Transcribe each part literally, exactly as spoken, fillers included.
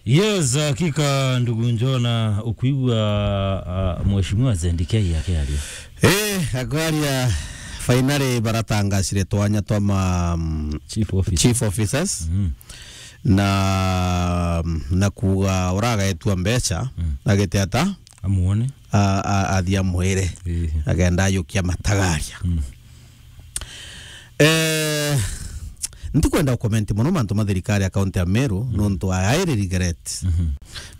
Yes, hakika, ndugu Njona, ukwigua, ah, Mheshimiwa Zendikei akiaria. Eh, akwaria, finally baratangacire twanya twa ma, mm, Chief officer. Chief officers. Mm. Na, na kuuga uragaetua mbeca, Mm. agite ata? Amuone. A, a, athia mwire. Eh. Agenda ayukia matagaria. Mm. Eh, ntikwenda gukomenti mono mantu ma thirikari ya kaunti ya Meru, Mm. nontu I highly regret. Mhm.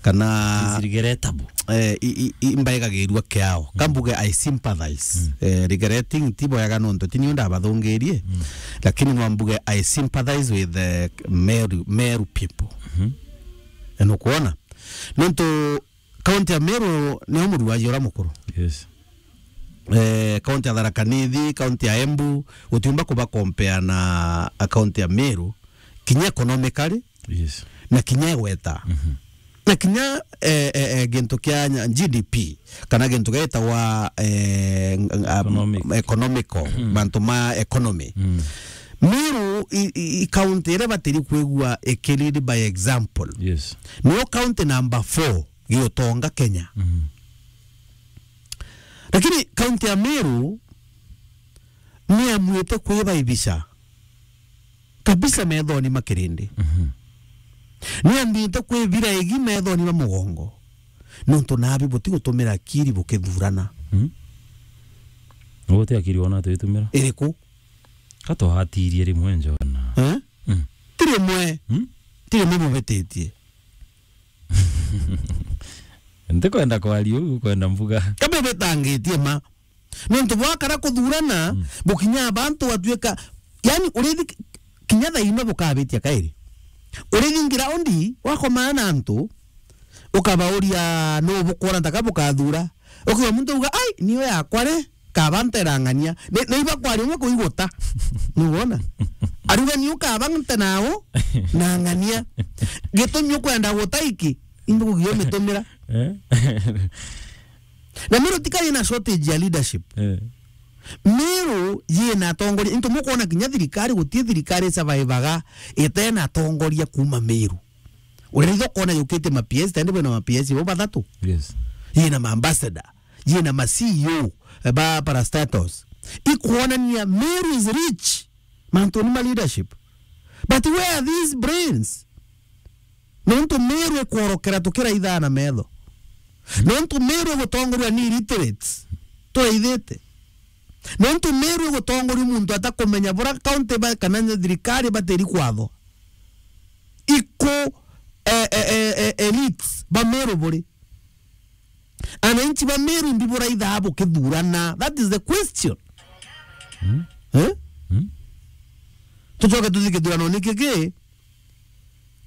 Kana It's regrettable. Eh, i, i, i, mbaigagirua kiao. Mm. Kambuge I sympathize. Mm. Eh, regretting ti bwega nontu ti niu ndabathungirie. Mm. Lakini no mbuge I sympathize with the Meru, Meru people. Mhm. Eh, nukwona? Nontu kaunti ya Meru nio muruaji uria mukuru. Yes. Eh, kaunti ya Tharaka Nithi, kaunti ya Embu, gutiumba kuba compare na kaunti ya Meru, kinya economically, Yes. na kinya igweta. Mhm. Na kinya, eh, eh, eh, gintu kia nya-, G D P, kana gintu gitagwa, eh, ng-, ng-, a, Economic. economical, Mm. mantu ma economy. Mm. Meru i, i, i county iria batiri kwigua iki lead by example. Yes. Niyo county number four giutonga Kenya. Mm. Lakini kaunti ya Meru niamwite kwibaibisha kabisa methoni ma kirindi. Mhm. Niambite kwibira igi methoni ma mugongo. Nontu nabi butigutumira akiri bukithurana. Mhm. Uguo ti akiri wona twitumira? Iriku? Ka twahatirie rimwe Njona. Eh? Mm. Ti rimwe. Mm? Ti rimwe mubititie. Ntikwenda kwaria uu, kwenda mbuga. Ka bubitangitie ma. Nontu bwakara kuthurana, Mm. bukinya abantu batuika, yani, urithi kinya thaa ino bukabitia kairi. Urithi ngiraundi, wakomana na antu, ukabauria nuu bukwona ntaka bukathura. Ukiwa muntu uga, "Ai, niyo yakwa ri, kaba nterang'ania." Ni, ni ibakwaria umwe kuiguta. Nuwona? Ariuga, "Niyo kaba nte nao, nang'ania." Gitumi ukwenda guta iki, imbi kugia umitumira. Eh? Na Meru tikari na shortage ya leadership. Eh. Meru yina atongoria, into mukwona kinya thirikari, guti thirikari survivaga itena atongoria kuma Meru. Uritho kona yukite ma P S, tende bwina ma P S bo bathatu. Yes. Yina ma ambassador, yina ma C E O, eh, ba parastatals. Ikwonania Meru is rich. Mantu ni ma leadership. But where are these brains? Nontu Meru ikworokera tukiraithaa na metho. Nontu Meru igutongoria ni illiterates. Turaithite. Nontu Meru igutongoria muntu atakumenya bura county ba, kana thirikari batiri kwatho. Iku, eh, eh, eh, eh, elites ba Meru buri. Ananchi ba Meru mbi buraithaa bukithurana? That is the question. Mm. Eh? Mm. Tucoke tuthi kithurano ni kiki?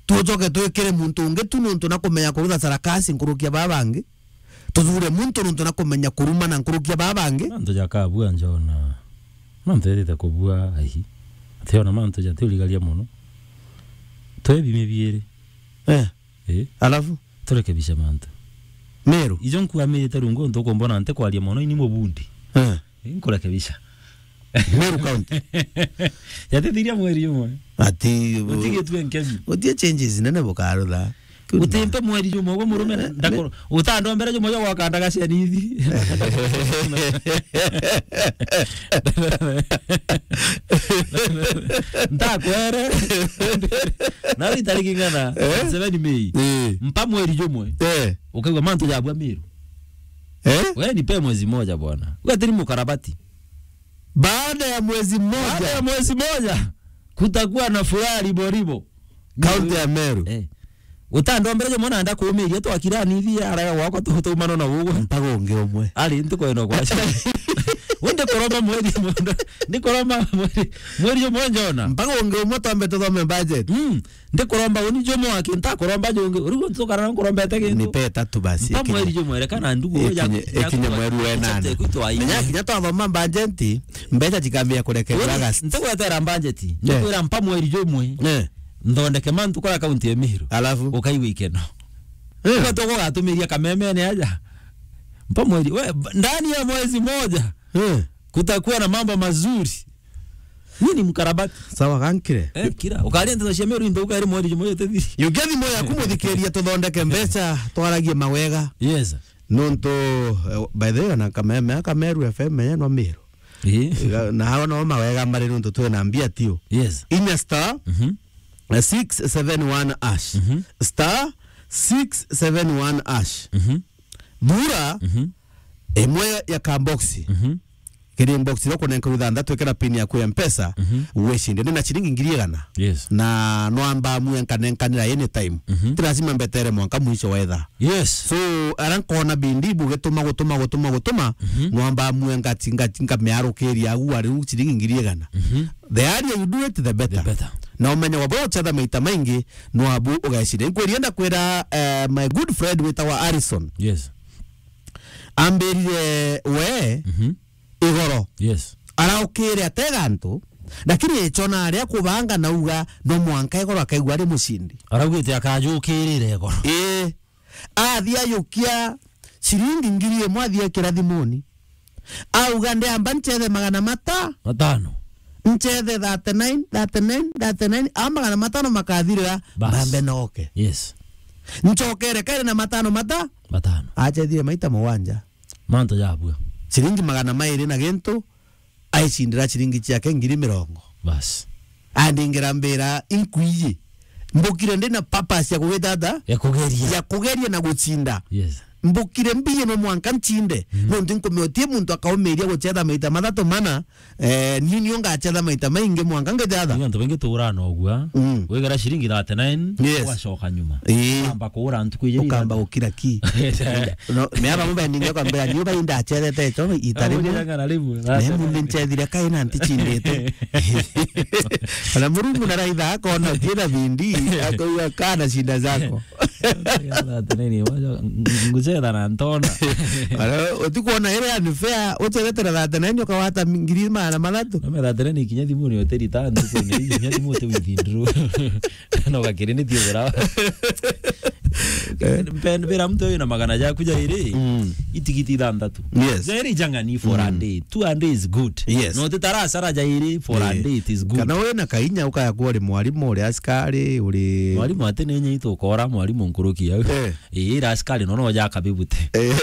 Tucoke twikire muntu ungi tu nontu na kumenya kurutha sarakasi nkuruki ya baba bangi? Tuthure muntu nontu na kumenya kurumana nkuruki ya baba bangi? Mantu jakabua Njona. Mantu ethite kubua aihi. Ationa mantu jatiurigaria mono. Twebimi biiri. Eh. Eh? Alafu? Turekebishe mantu. Meru? Ijo nkuamirite rungu ntu kumbona ntikwaria mono, ini mubundi. Eh. Eh, nkurekebisha. Meru County. Yatithiria mweri umwe. Ati, utigitue nkemi. Utie changes nene bukarutha. Utimpe mweri jumwe, uguo murume, eh, ndakoro-, utandombere jumwe jwa gwaka ndagacia nithi. Ntakwere. Nawe itariki ng'ana, eh? Seven May. Eh. Mpa mweri jumwe. Eh. Ukaigua mantu jabua Meru. Eh? We nipe mwezi moja bwana. We atiri mukarabati. Baada ya mwezi mmoja. Baada ya mwezi moja, kutakuwa na furaha ribo ribo. Kaunti ya Meru. Eh. Utandombere jumwe na ndakumiria twakira nithi arega gwakwa tu-, tuumano na ugwe. Mpaga ungi umwe. Ari ntikwenda kwacia. Undi kuromba mweri umwe. Ndi kuromba mweri, mweri umwe Njona. Mpaga ungi umwe twambe tuthome budget. Mm. Ndikuromba uni jumwe aki, ntakuromba jungi. Urigu ntukara nkurombete gintu. Nipe tatu basi. Mpa mweri jumwe, reka na ndugu ya, ikinye, ya, ikinye ya, mweri wa enana. Menya kinya twathoma budget, mbeca cikambia kurekerwa August. Ntigwetera budget. Eh. Ndikwira mpa mweri jumwe. Eh. Nthondeke mantu kora kaunti ya Meru. Alafu? Ukaigua ikeno. Eh. Uga tuko gatumiria kamemene aja. Mpa mweri, we, ndani ya mwezi moja, eh, kutakuwa na mambo mazuri. Ni ni mkarabati. Sawa, gankire. Eh, kira. Ukaria nteto cia Meru into ukairi mweri jumwe yote thiri. Yukia thimu yaku, muthikiria, tuthondeke mbeca, twaragie mawega. Yes. Nontu, eh, by the way, na Kameme, Kameru F M, eh, no Meru. Eh. Na hawa no mawega mari nontu twina mbia tio. Yes. Inya star, mhm, eh, six seven one hash. Mhm. Star six seven one hash. Mhm. Thura, mhm, imwe ya kaboxi. Mhm. Kiri box iria ukunenka ithanthatu, ikira pin yaku ya Mpesa, mhm, wicinde. Ndina ciringi ngiri igana. Yes. Na no amba amue nkanenkanira anytime. Mhm. Ti lazima mbetere mwanka mwisho wa ithaa. Yes. So, ara nkona bindi bugituma, gutuma, gutuma, gutuma, mhm, no amba amue ngati, ngati, nkamiarukiria agu ari u ciringi ngiri igana. Mhm. The earlier you do it, the better. The better. Na umenye wa bro uchetha maita maingi, no abu ugaicinde. Nkwirie ndakwira, eh, my good friend witawa Harrison. Yes. Ambirire we, mhm, igoro. Yes. Araukire atega antu, lakini echona aria kubanga nauga no mwanka igoro akaigua ari mucindi. Araugite akajukirire igoro. Ii. Athi ayukia ciringi ngiri imwe athi ekira thimuni. Auga, "Ndiamba nchethe magana mata-, matano. Nchethe thirty-nine, thirty-nine, thirty-nine, a magana matano makathirira, bas, mbambe noke." Yes. Nchokere kairi na matano mata-, matano. Achethire maita mugwanja. Mantu jabua. Ciringi magana mairi na gintu, aicindira ciringi ciake ngiri mirongo. Bas. Andingira mbira, "Inkuiyi. Mbukire ndi na purpose ya kugita ata?" Ya kugeria. Ya kugeria na gucinda. Yes. Mbukire mbiye no mwanka ncinde. Mm. Nontu nkumiotie muntu akaumiria guchetha maita mathatu mana, eh, niu nio ngachetha maita maingi mwanka ngichetha. Ni antu baingi tuurana ugua. Mm. Wigera ciringi thirty-nine, yes, ugacoka nyuma. Ii. Ukamba kuura ntuku iji. Ukamba gukira ki. No, me aba mubendinge kwambira, "Niu bai ndachethete echo ita rimwe. Abo jera ng'ana rimwe, na emu ni nchethire kai na ntichindite." Ona Murungu na raitha akona kina bindi, akauga, "Kana shinda zako." Thirty-nine, wacha, ng-, nguchetha na ntona. Ara, utikwona ire unfair, uchethete na thirty-nine ukawata ngiri magana mathatu. Na me thirty-nine kinya thimu ni hoteli ta ntuku ni, kinya thimu uti withindru. No gakiri ni thiogora. Eh. Mpe-, mbira mtu uyu na magana jaku jairi, mm, itigiti ithanthatu. Yes. Jairi jang'ani for a, mm, day. Two a day is good. Yes. No titara sara jairi for a, eh, day, it is good. Kana wina kainya ukaya kuwa uri mwarimu, uri askari, uri mwarimu ati ni nyi tukora mwarimu nkuruki au. Eh. Ii, ira askari nono jaka bibute. Eh.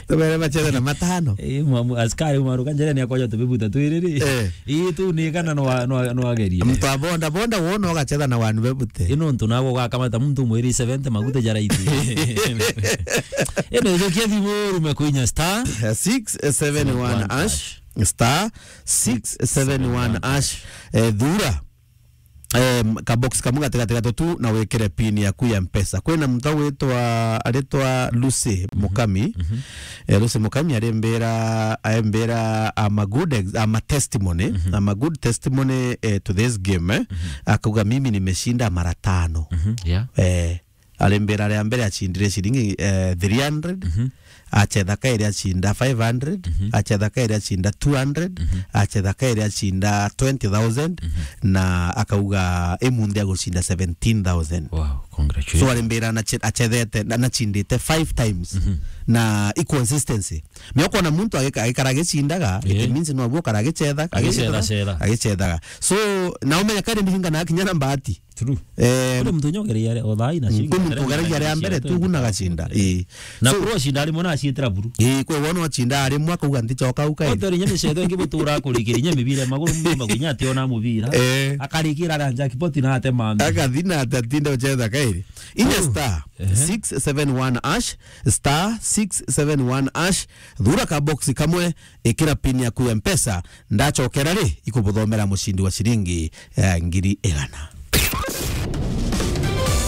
Tubere bachethe na matano. Ii, mwamu-, askari umaruka njere ni akoja tubibuta twiriri. Eh. Ii, tu ni kana no, no, no agerie. Mtu wa boda boda wona ugachetha na wanu bebute. Ino ntu nago ugakamata muntu mwiri seventy magute jara iti. Ino jokia thimu rume kuinya star six seven one hash. Star six seven one hash. Eh, thura. Em, ka box kamwe gatigati gatutu na wikire pin yaku ya Mpesa. Kwina muntu witwa, aritwa Lucy, mhm, Mukami. Mhm. Eh, Lucy Mukami arimbira, aimbira, "I'm a good ex-, I'm a testimony. Mhm. I'm a good testimony, eh, to this game, eh." Mhm. Akauga, "Mimi nimeshinda mara tano." Mhm, yeah. Eh, Arimbira ria mbere acindire ciringi, eh, three hundred, mhm, achetha kairi acinda five hundred, mhm, achetha kairi acinda two hundred, mhm, achetha kairi acinda twenty thousand, mhm, na akauga imunthi agucinda seventeen thousand. Wow, congratulations. So arimbira na che-, achethete, na, nachindite five times, mhm, na i consistency. Ni ukona muntu agika-, agikara agicindaga, it, yeah, means no abu ukara agichetha, agichetha, agichetha, agichethaga. So, na umenya kairi ndiringana kinya na mbati. True. Eh, kuri muntu nyogeria o thaa ina, mm, ciringi kuri muntu ugeragia ria mbere tu, gu na gacinda. Eh. Na so, kuri ocinda rimwe na acietera buru. Eh, kwe wona ocinda rimwe akauga, "Ntichoka uka." Ote ri nyemi cetho ingi butura kurikiri nyemi bire maguru mumba gunya ati ona mubira. Eh. Akarikira ra jackpot na ate mambi. Akathi na ate atinda uchetha kairi. Inya, oh, star, ehe, six seven one hash, star six seven one hash, thura ka box kamwe, ikira pin yaku ya Mpesa, ndachokera ri, ikubuthomera mucindi wa ciringi, eh, ngiri igana.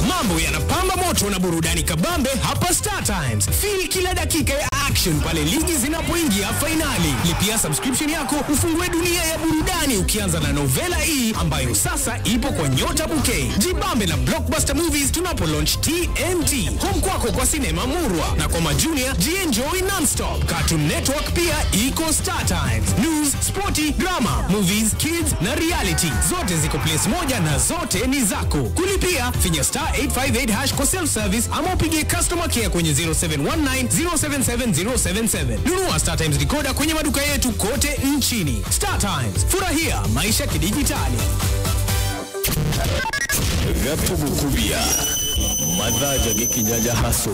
Mambo yanapamba moto na burudani kabambe hapa Star Times. Feel kila dakika ya action pale ligi zinapoingia fainali. Lipia subscription yako ufungue dunia ya burudani ukianza na novela hii ambayo sasa ipo kwa Nyota Bouquet. Jibambe na blockbuster movies tunapo launch T N T. Home kwako kwa sinema murwa na kwa majunia, jienjoy non-stop. Cartoon Network pia iko Star Times. News, sporti, drama, movies, kids na reality. Zote ziko place moja na zote ni zako. Kulipia, finya star eight five eight hash kwa self service ama upigie customer care kwenye zero seven one nine zero seven seven zero seven seven. Nunua Star Times decoder kwenye maduka yetu kote nchini. Star Times, furahia maisha kidijitali. Gatugukubia mathaa ja gikinya ja haso.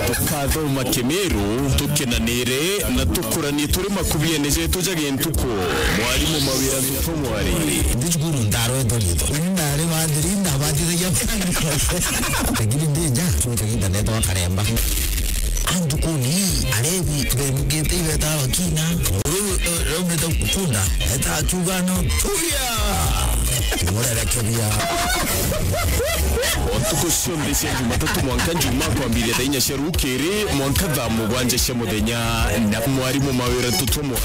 Tukathoma Kimiru, tukenanire na tukuranie turi makubiene jetu ja gintuku. Mwarimu Mawira Ntutu Mwari. Ndi cukuru ndarwetwo riitwa. Uni ndari wathiri, ndabatithagia. Lakini ndi nja, nkagiita neetwa Karemba. Antu kuni, arebi, bemukite ibeta bakina. Uu, eh, raumite kunda, eta akiuga no, "Turia!" Murerekeria. O ntuku cionthe cia Jumatatu mwanka Jumaa kwambiria thaa inya cia rukiri mwanka thaa mugwanja cia muthenya na mwarimu Mawira Ntutu Mwari.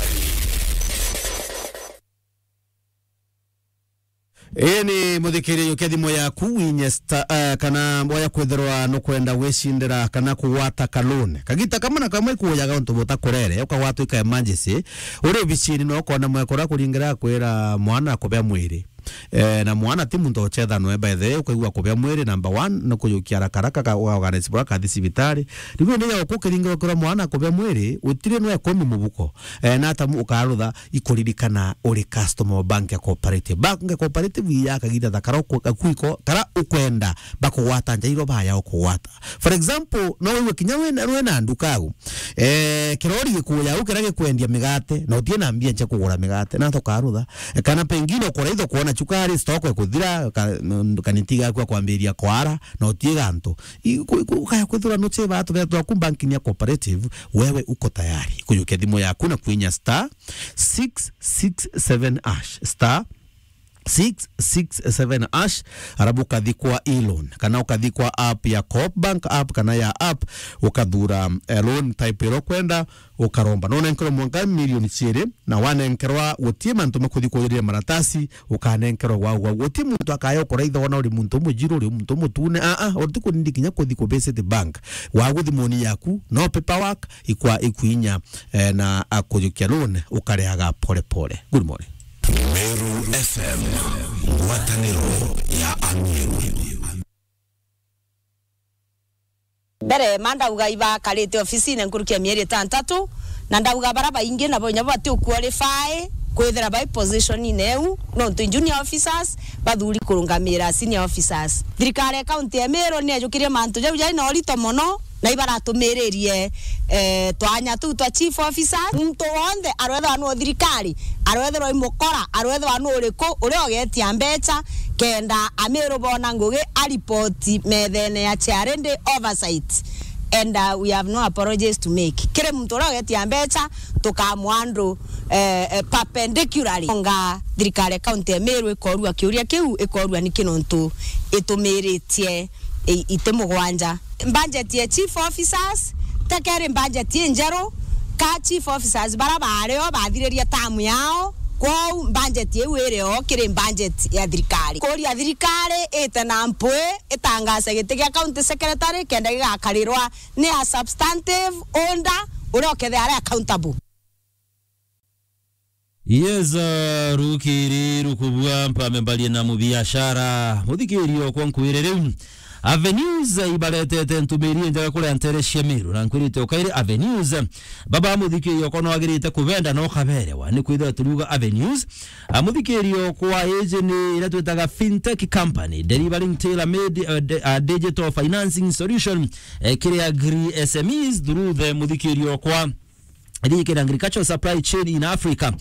Ii ni muthikiriria, jukia thimu yaku, winye star, eh, kana waya kwithirwa nukwenda gwicindira kana kugwata ka loan. Kagita kamwe na kamwe ikuujaga untu butakurere, ukagwatwa ika emergency, uri obicini na ukona mwekuru akuringira akwira mwana akubea mwiri. Eh, na mwana ti muntu ocetha nwe, by the way, ukaigua kubea mwiri, number one, ni kujukia haraka haraka ka-, uga organize bwa kathi cibitari. Riu indi ya uku ukiringira ukirwa mwana akubea mwiri, utiri nwe ikumi mubuko. Eh, na atamu ukarutha ikuririkana uri customer wa Bank ya Cooperative. Bank ya Cooperative iya kagita thakara uku-, gakuiko, kara ukwenda bakugwata nja iro baya ukugwata. For example, no wigue kinya wina, wina nduka au. Eh, kirori gikuya au kiria gikwendia migate, na utie na mbia cia kugura migate, na tokarutha. Kana pengine ukuraitha kuona cukari, stock ikuthira, ka-, kaniti gaku akwambiria kwara, na utie gantu. I-, ku-, ku-, ukaya kwithirwa nucheba atu betu aku bank ni ya Cooperative, wewe uko tayari. Kujukia thimu yaku na kwinya star six six seven hash, star six six seven hash, arabu ukathi kwa e-loan, kana ukathi kwa app ya Coop Bank app, kana ya app, ukathura, eh, loan type iro kwenda, ukaromba. No unenkerwa mwanka milioni ciiri, na wanenkerwa gutie mantu makuthi kujuria maratasi, ukanenkerwa gwau gwau. Guti muntu akaya ukuraitha wona uri muntu umujiru, uri muntu umutune. Aa, uti kunindi kinya kuthi ku visit bank. Wagu thimuni yaku, no paperwork, ikwa-, ikwinya, eh, na akujukia loan, ukareaga pole pole. Good morning. Meru F M, ngwataniro ya Ameru. Mbere, ma ndauga ibakarite ofisine nkuruki ya mieri itantatu, na ndauga bara baingi nabo inya bati u-qualify kwithira bai positionine iu, nontu junior officers bathuri kurungamira senior officers. Thirikari ya kaunti ya Meru ni yajukirie mantu jau jai na urito mono, na ibaratumiririe, eh, twanya tuu twa chief officers. Muntu wonthe arwethirwa nu thirikari, arwethirwa i mukora, arwethirwa nu uriku, uria ugetia mbecha, kenda Ameru bona ngugi aripoti methene ya Charity Oversight. And, uh, we have no apologies to make. Kiri muntu uria ugetia mbecha, tukamwandru, eh, eh, perpendicularly. Nga thirikari ya kaunti ya Meru ikorua kiuria kiu, ikorua niki nontu itumiritie i-, iti mugwanja. Budget ya chief officers, tekeri budget injeru, ka chief officers bara bario bathiririe term yao, kwou budget iu iri o kiri budget ya thirikari. Kuria thirikari ite na mpwi, itangaze giti gia county secretary kenda gigakarirwa ni a substantive holder uria ukethira ari accountable. Yes, uh, rukiri rukubua mpame mbarie na mubiashara. Muthikiri okwa nkwire riu. Avenues ibaretete ntumiri njega kuria ntere cia Meru, na nkwirite ukairi Avenues. Baba muthikiri okwa no agirite kubenda no kaberewa. Ni kwithira turiuga Avenues. A muthikiri okwa iji ni iria twitaga fintech company, delivering tailor-made, uh, di-, uh, digital financing solution, eh, kiri agri S M Es through the muthikiri okwa. Ithikira agricultural supply chain in Africa.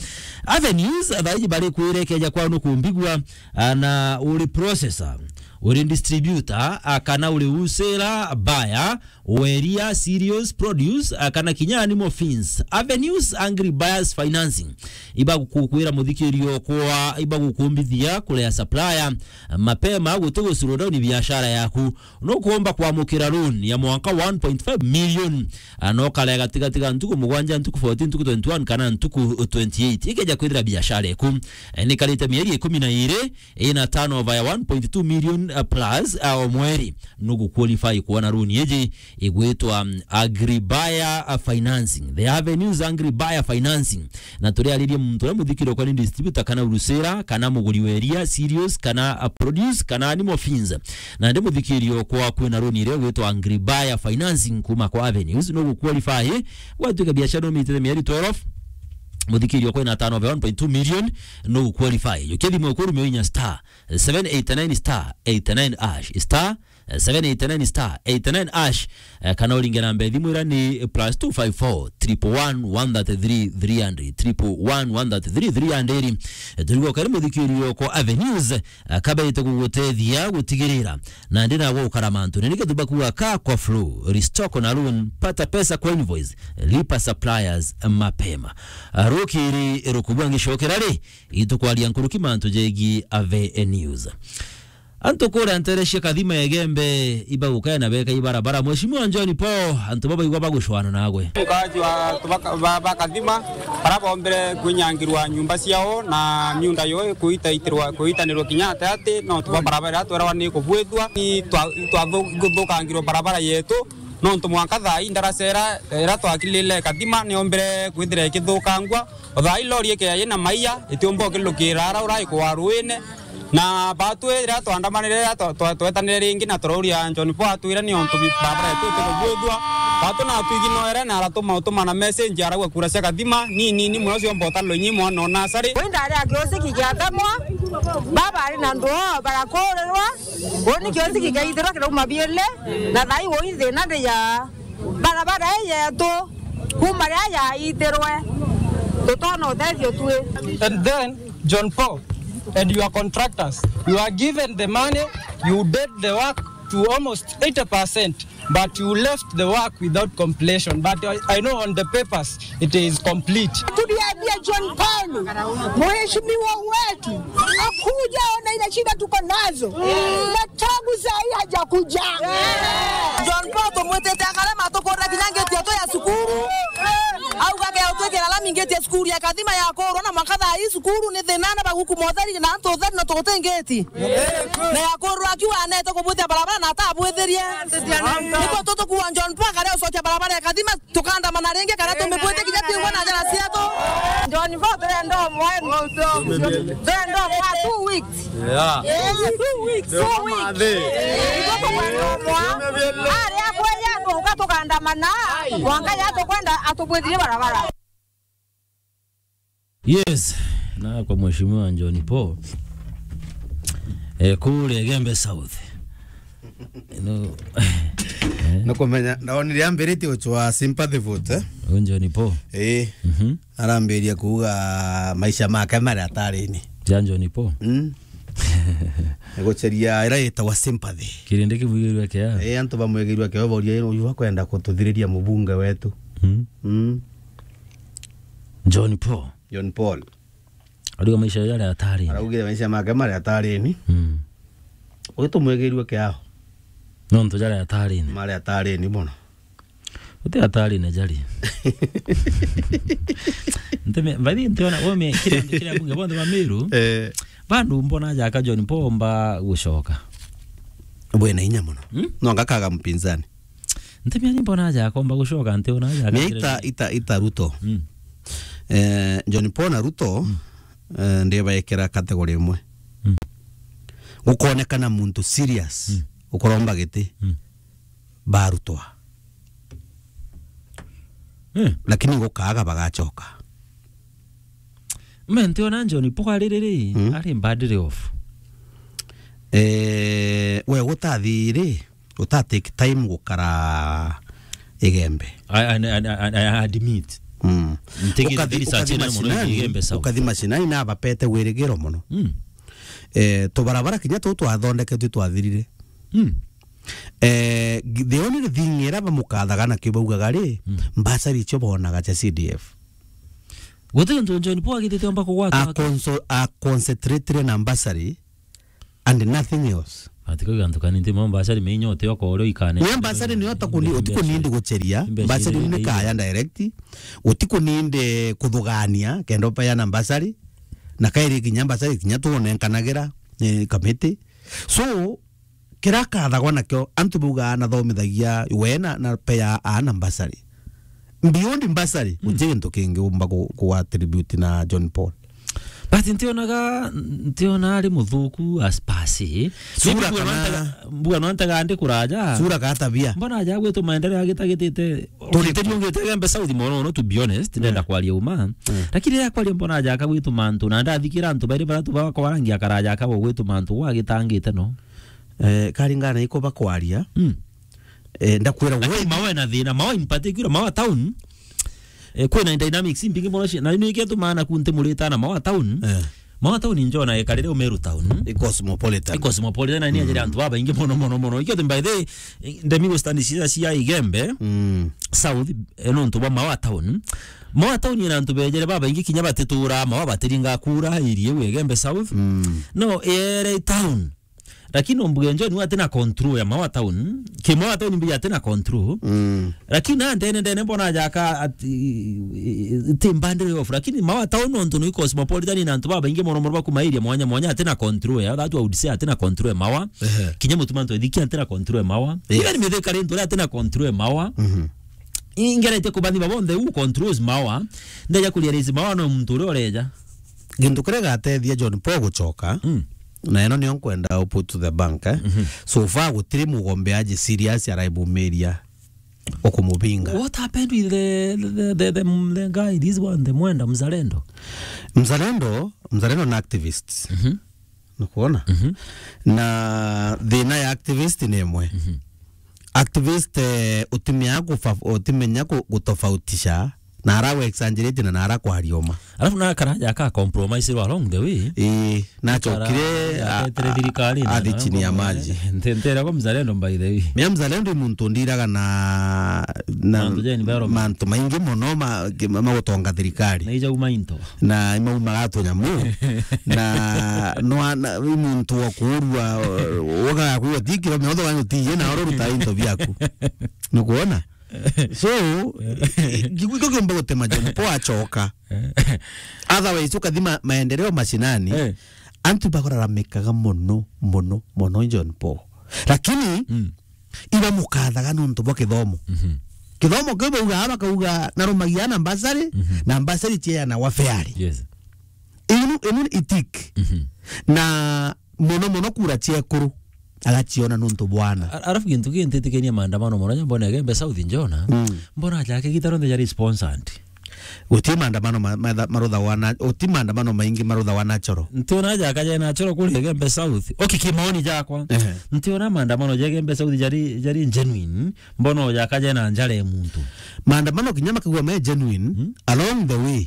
Avenues, thaiji bari kwire keja kwao nukumbigua, ah, na uri processor, uri distributor, ah, kana uri wholesaler, buyer, weria, cereals, produce, ah, kana kinya animal feeds. Avenues Agri Buyers Financing. Iba gukukwira muthikiri okwa, iba gukumbithia kurea supplier, mapema guti gu slow down biashara yaku. Nukuomba kwamukira loan ya mwanka one point five million, ah, na ukarega gatigati ga ntuku mugwanja, ntuku fourteen, ntuku twenty-one kana ntuku twenty-eight. Ikeja kwithira biashara eku, eh, nikarite mieri ikumi na iri, ina turnover ya one point two million uh, plus, uh, o mweri, nugu qualify kuona loan iji igwitwa, um, Agribuyer, uh, Financing. The Avenues Agribuyer Financing. Na turiaririe muntu uria muthikirio kwa ni distributor kana wholesaler, kana muguri wa iria, cereals, kana, uh, produce, kana animal feeds. Na ndi muthikirio kwa kwina loan iria igwitwa Agribuyer Financing kuma kwa Avenues, nugu qualify. Gwatuika biashara umitite mieri twelve, muthikirio kwina turnover one point two million, nugu qualify. Ukithi mwe kurumia inya star seven eight nine star eight nine hash, star seven eight nine star eight nine hash, eh, kana uringe namba ya thimu iria ni plus two five four, triple one, one thirty-three, three hundred, triple one, one thirty-three, three hundred. Eh, turigwo kari muthikirio kwa Avenues, eh, kabaite kugutethia gutigirira na ndi nagwe ukara mantu. Ni nikio tubakuga ka kwa flow, restock na loan, pata pesa kwa invoice, lipa suppliers mapema. Ah, rukiri rukubwa ngicokera ri, itukwaria nkuruki mantu jegi Avenues. Antu kuria ntere cia Kathima Igembe ibagukaya na beka ibarabara. Mheshimiwa John Paul, antu babaigwa bagucwana nagwe. Mkaji wa tubaka-, ba, ba Kathima, bara bombire kwinyangirwa nyumba ciao na miunda yo kuita itirwa, kuitanirwa kinya ate ati, no tuba barabara twerawa ni kubwithwa, ni twa, twa thu-, guthukangirwa barabara yetu, nontu mwanka thaa ii ndaracera, ira twakilile Kathima, niombire kwithira ikithukangwa. O thaa ii lori ikia yina maia, itiumba ukilukira ara urai kwa ruine. Na batu ira twandamanire, ira twa-, twa-, twetanire ringi na turauria John Paul atwire ni ontu bi-, barabara yetu itikubwithua. Batu na atwiginoere na aratuma, utuma na message arauga kura cia Kathima, ni nini muno ciomba utalwa inyi mwana o nasari. Wenda ari akiosiki giatemwa, baba ari na ndoo barakurirwa, uni kiosiki giaithirwa kirauma biele, na thaa ii woi thina ri ya barabara ii yetu, kuma riria yaitirwe, tutona utethio tui. And then, John Paul and your contractors, you are given the money, you did the work to almost eighty percent, but you left the work without completion. But I, I know on the papers, it is complete. Tuliambia John Paul, mheshimiwa wetu, akuja ona ile shida tuko nazo. Na tangu saa hii hajakuja. John Paul tumwitite akarema tukurira kinya ngeti yetu ya cukuru. Auga ke utwikira lami ngeti ya cukuru ya Kathima ya kurwa na mwanka thaa hii cukuru ni thina na baguku motheri na antu utheri na tuguti ngeti. Na ya kurwa akiuga anete kubwitia barabara na atabwithirie. Niko tutukuwa John Paul akaria ucokia barabara ya Kathima. Tukandamana ringi kana tumibwite kinya twigua na njara cietu. John Paul turenda umwe. Turenda umwe two weeks. Yeah. Yeah, two weeks. Two weeks. Itukwenda umwe. Aria kweja tuka tukandamana. Mwanka ya tukwenda atubwithirie barabara. Yes, na kwa mheshimiwa John Paul, eh, kule Igembe South. No. Nukumenya, ndonire ambiritie gucwa sympathy vote, eh? Huyu John Paul. Eh. Mhm. Arambiria kuuga maisha make mari atarini. Ja John Paul. Mm. Guceria ira yitagwa sympathy. Kirindi kimwigirwe kia. Eh, antu bamwigirwe kia boria, uyu akwenda kututhiriria mubunge wetu. Mm. Mm. John Paul. John Paul. Ariuga maisha jari atarini. Araugire maisha make mari atarini. Mm. Uyu tumwigirwe kiao. Nontu jari atarini. Mari atarini mono. Uti atarini jari. Nteme, by the way, ntiona, we me, kiri antu, kiri abunge bonthe ba Meru. Eh. Bandu mbona jaka John Paul mba gucoka. Bwena inya mono. Hmm? No ngakaga mpinzani. Ntemia ni mbona aja akomba gucoka nti ona aja. Ni akakira ita, ita, ita Ruto. Mm. Eh, John Paul na Ruto, mm, eh, ndibaekera category imwe. Mm. Gukonekana muntu serious, mm, ukuromba giti, mm, barutwa. Eh. Lakini gukaaga bagacoka. Me ntiona John Paul ari riri, mm, ari badly off. Eh, we gutathi ri, uta take time gukara Igembe. I, I, I, I, I admit. Mm. Ntigiri ukathi, research ukathi ina mono mashinani, Igembe South. Ukathi mashinani na bapete wirigiro mono. Mm. Eh, tubarabara kinya tu twathondeketwe twathirire. Mm. Eh, the only thing ira bamukathaga na kibaugaga ri, mm, mbasari icio bonaga cia C D F. Guti untu John Paul agitite omba kugwatwa. A conso-, a concentrate na mbasari and nothing else. Ati kwa gantu kani nti mo mbasari meinyo te oko ore ikane. Ni mbasari ni ota kuni, uti kunindi guceria, mbasari ni kaya direct, uti kunindi kuthugania, kenda upeana mbasari, na kairi kinya mbasari kinya tuonenkanagira, eh, kamiti. So, Kira akathagwa nakio, antu bauga anathomithagia we na, na pea ana mbasari. Beyond mbasari, mm, guti gintu kingi umba ku, ku attribute na John Paul. But ntionaga, ntiona ari muthuku as per se. Sura maybe mbuga kana nontaga, mbuga nontaga ndi kuraja. Sura ka tabia. Mbona aja gwitu maendeleo agitagitite. Turi ku- Tiri ungite Gembe South mono, no, to be honest, ndenda, mm, kwaria uma. Mm. Lakini riria kwaria mbona aja ka gwitu mantu, na ndathikira antu bairi baratu bakwa barangi akaraja ka gwitu mantu, gwagitangite no. Eh, karingana iko bakwaria. Mm. Eh, ndakwira. Lakini we Mawa ena thina, Mawa in particular, Mawa town. Eh, kwina dynamics mbingi mono cia, na ni kio tumana ku ntimurita na Mawa town. Eh. Mawa town njona ekarire Umeru town. I cosmopolitan. I cosmopolitan, na ni, mm, ajira antu babaingi mono, mono, mono. Ikio, by the way, ndemi Western cia, cia Igembe, mm, South, eh, nontu bwa Mawa town. Mawa town ina antu bejere babaingi kinya batitura, Mawa batiringa kura, irie Igembe South. Mm. No, ere town. Lakini ombuge John we atina control ya Mawa town. Ki Mawa town mbi atina control. Mm. Lakini na ndene ndene mbona jaka ati, ti mbandire off. Lakini Mawa town nontu ni cosmopolitan na antu babaingi mono mono bakuma area mwanya mwanya atina control ya. That I would say atina control ya Mawa. Ehe. Kinya mutuma antu ethiki atina control ya Mawa. Yes. Even Mithika rintu atina control ya Mawa. Mhm. Ingerete kubathi babonthe who controls Mawa. Ndeja kuria rais Mawa no muntu uria ureja. Gintu kiria gatethia John Paul gucoka. Mm. Na ino niyo nkwenda u put to the bank, eh? Mhm. So far, gutiri mugombeaji serious araibumiria ukumubinga. What happened with the, the, the, the, the guy, this one, the Mwenda Mzalendo? Mzalendo, Mzalendo na activists. Mhm. Nukuona? Mhm. Na thina ya activist ni imwe. Mhm. Activist, eh, utimenya kufa-, utimenya ku-, gutofautisha. Na ara we exaggerate na, na ara kwaria uma. Alafu na karaja aka compromise along the way. Ii, nachokire, a-, atetire thirikari na athi chini ya maji. Nte-, ntera kwa Mzalendo, by the way. Mia Mzalendo i muntu ndiraga na, na mantu ja environment, mantu maingi mono ma-, ki-, ma-, magutonga thirikari. Na ija uma into. Na imaumaga tunyamu. Na no ana, i muntu wa kuurua, woga kwigua ti kiro miotho ganyu ti ye na oro ruta into biaku. Nukuona? So, giko kiumba gutema John Paul acoka. Otherwise, ukathima maendeleo mashinani, eh, antu bakuraramikaga mono, mono, mono John Paul. Lakini, mm, ibamukathaga nontu bwa kithomo. Mhm. Kithomo kiu bauga, bakauga, narumagia na mbasari, mhm, na mbasari ciana wa fairly. Yes. Inu, inu itik. Mhm. Na mono mono kura ciekuru agaciona nontu bwana. A-, alafu gintu kintitikenia maandamano mono, nya mbona Igembe South njona, mm, mbona jake gitaro nthe jari sponsored. Guti maandamano ma-, ma-, maruthagwa na, guti maandamano maingi maruthagwa natural. Ntiona jaka jena natural kuri Igembe South. Okay, kimaoni jakwa. Ehe. Ntiona maandamano ja Igembe South jari, jari genuine. Mbona jaka jena njara ya muntu. Maandamano kinya makigwa me genuine, mm, along the way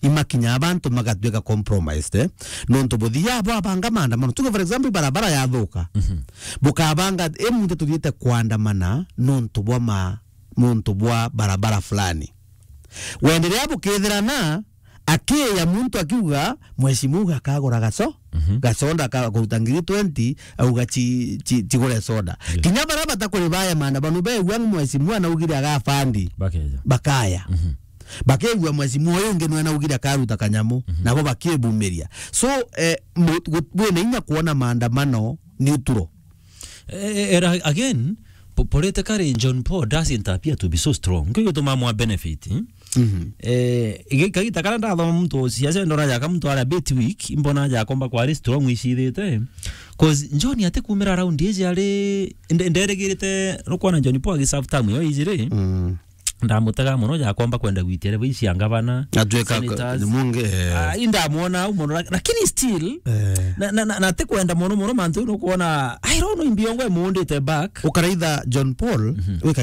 imakinya abantu magatwika compromised, eh? Nontu buthia bwabanga maandamano. Tuge, for example, barabara yathuka. Mhm. Bukabanga, e, muntu tuthiite kwandamana nontu bwa ma-, nontu bwa barabara fulani. Wendelea bukethirana, akiya muntu akiuga, "Mheshimiwa akagura gaco, mhm, gaconda ka-, kuruta ngiri twenty, auga ci-, ci-, cigure soda." Yeah. Kinya baria batakuribaya maandamano, begua mheshimiwa anaugire agafandi. Bakeja. Bakaya. Mhm. Bakegua mheshimiwa uyu ungi nwe naugire akaruta kanyamu, mhm, nabo bakibumiria. So, eh, mu-, gu-, wina inya kuona maandamano neutral. Eh, eh, era-, again, po-, politically, John Paul doesn't appear to be so strong. Nkio gituma mwa benefit, eh? Mhm. Eh, igi-, kagita karia ndathoma muntu siasa ndona jaka muntu aria bit weak, imbona jakomba kwari strong icithite. 'Cause John atikumira round iji ari, nde-, nderigirite, nukwona John Paul agiserve term yo ijiri. Mm. Ndamutega mono, jakomba kwenda gwitia level ici cia ngavana, atwika senators. Ni mungi, eh. Ah, indamwona au mono, lak-, lakini still, eh, na, na, na, na ti kwenda mono mono mantu, nukwona, I don't know, imbiongo emundite back. Ukaraitha John Paul, mhm, wika